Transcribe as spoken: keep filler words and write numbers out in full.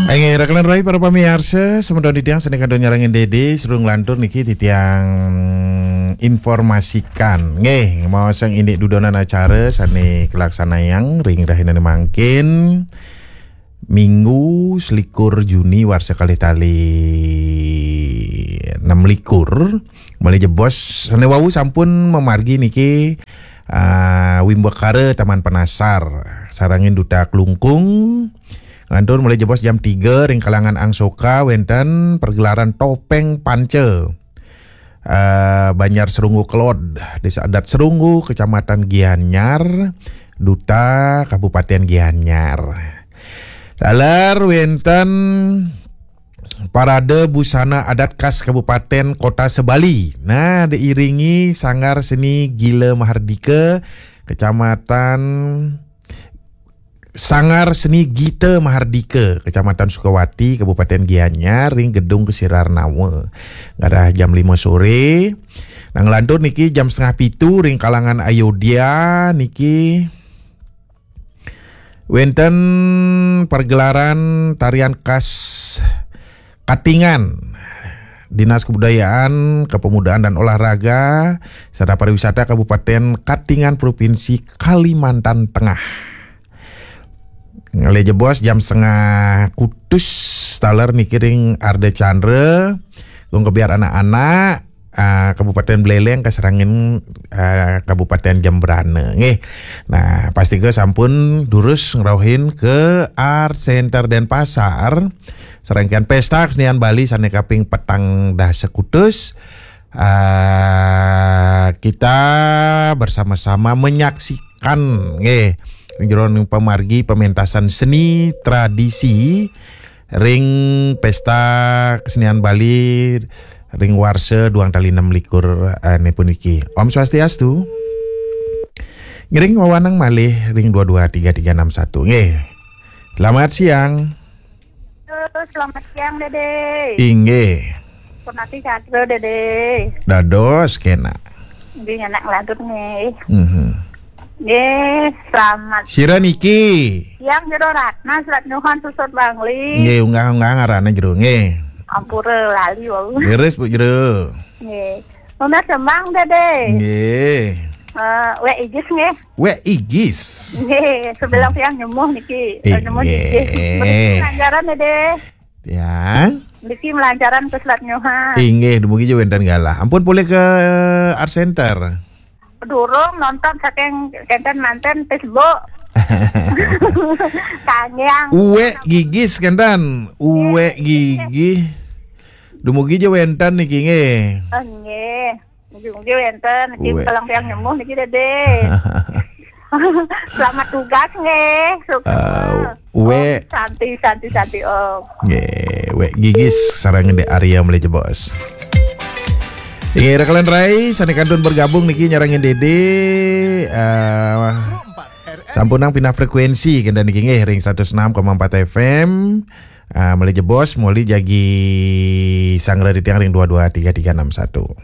Inggih, raka lan rai para pamiarsa, semeton titiang sané kantun nyarengin Dédé, sareng nglantur niki titiang informasikan. Nggih, maosang indik dudonan acara sané kalaksanayang ring rahinané mangkin, Minggu selikur Juni warsa kalih tali enam likur. Malih jebos sané wau sampun mamargi niki, ah, Wimbakara Taman Penasar, sarengin Duta Klungkung, nglantur malih jebos jam tiga ring kalangan Angsoka wénten pergelaran Topeng Panca. Eh, Banjar Serunggu Kelod, Desa Adat Serunggu, Kecamatan Gianyar, Duta, Kabupaten Gianyar. Taler wénten Parade Busana Adat Khas Kabupaten Kota Sebali. Nah, diiringi Sanggar Seni Gila Mahardika, Kecamatan Sanggar Seni Gita Mahardika, Kecamatan Sukawati, Kabupaten Gianyar, ring Gedung Kesirarnawa. Ngarah jam lima sore. Nah, nglantur niki jam setengah pitu ring kalangan Ayodya niki wénten pergelaran tarian khas Katingan, Dinas Kebudayaan, Kepemudaan dan Olahraga, serta Pariwisata Kabupaten Katingan, Provinsi Kalimantan Tengah. Malih jebos jam setengah kutus taler niki ring Ardha Candra, Gong Kebyar Anak-anak, ah, Kabupaten Buleleng kasarengin, ah, Kabupaten Jembrana, nggih. Nah, pastika sampun durus ngrauhin ke Art Center Denpasar, serangkaian Pesta Kesenian Bali sané kaping petang dasa kutus. Ah, kita bersama-sama menyaksikan, nggih, ring jero pamargi pementasan seni tradisi ring Pesta Kesenian Bali ring warsa duang tali enam likur, eh, puniki. Om Swastiastu. Ngiring wewanang malih ring dua dua tiga tiga enam satu. Nggih. Selamat siang. Halo, selamat siang, Dédé. Inggih. Punati Chandra, Dédé. Dados kénak. Nggih, nyenak nglantur nggih. Mhm. Nggih, selamat Sira niki. Siang, Jero Ratna, Selat Nyuhan, Susut Bangli. Nggih, unggah-unggah ngaranné Jero nggih. Ampura lali wau. Leres, Bu Jero. Nggih. Nunas tembang, Dédé. Nggih. Eh, Wék Igis nggih. Wék Igis. Nggih, sebelum siang nyemuh niki. Eh, nyemuh niki. Inggih. Melancaran, Dédé. Ya. Niki melancaran ke Selat Nyuhan. Inggih, dumugi ja wénten galah. Ampun polih ke Art Center. Durung nonton saking kénten manten Facebook. Kangyang. Uwek Gigis kénten. Uwek Gigis. Dumugi ja wénten niki nggih. Oh, nggih. Mugi-mugi wénten niki. Uwek. Kalih tiang nyemuh niki, Dédé. Selamat tugas nggih. Sukses. Ah, Wék. Om Santi, Santi, Santi, Om. Nggih, Wék Gigis sareng Dék Arya malih jebos. Inggih, rekan rai, sané kantun bergabung niki nyarengin Dédé, eh, sampunang pindah frekuensi kénten niki nggih ring seratus enam koma empat F M. Ah, malih jebos, malih jagi sanggra titiang ring dua dua tiga tiga enam satu.